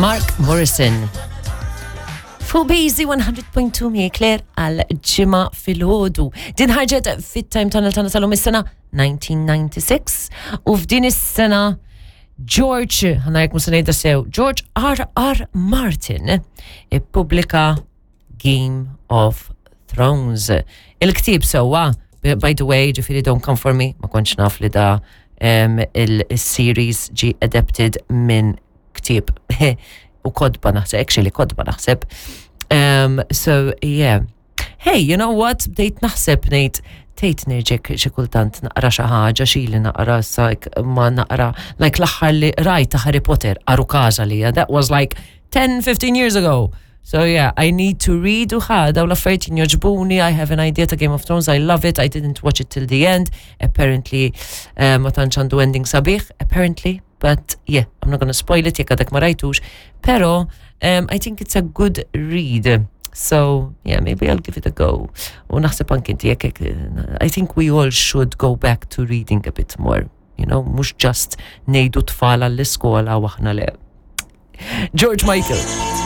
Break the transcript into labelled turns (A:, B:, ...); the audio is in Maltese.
A: Mark Morrison. Fuq Busy 100.2 mi Claire għal ġimgħa filgħodu. Din ħarġet fit-time tunnel tagħna tal-lum is-sena 1996 u f'din is-sena George, ħanajk musa ngħidha sew, George R. R. Martin ippubblika Game of Thrones. Il-ktieb sewwa, by the way, ġifieri don't come for me, ma kontx naf li da um, il-series ġi adapted minn ktieb u kodba naħseb, actually kodba naħseb. Um, so, yeah. Hey, you know what? Bdejt naħseb ngħid tgħid nerġek xi kultant naqra xi ħaġa xi li naqra sa ma naqra like l-aħħar li rajt ta' Harry Potter aru każa li that was like 10 15 years ago. So yeah, I need to read u ħa daw l-affarijiet jogħġbuni, I have an idea ta' Game of Thrones, I love it, I didn't watch it till the end. Apparently uh, ma tantx għandu ending sabiħ, apparently, but yeah, I'm not gonna spoil it jekk għadek ma rajtux, pero um, I think it's a good read. So, yeah, maybe I'll give it a go. U naħseb anki inti jekk I think we all should go back to reading a bit more, you know, mhux just ngħidu tfal għall-iskola u aħna le. George Michael.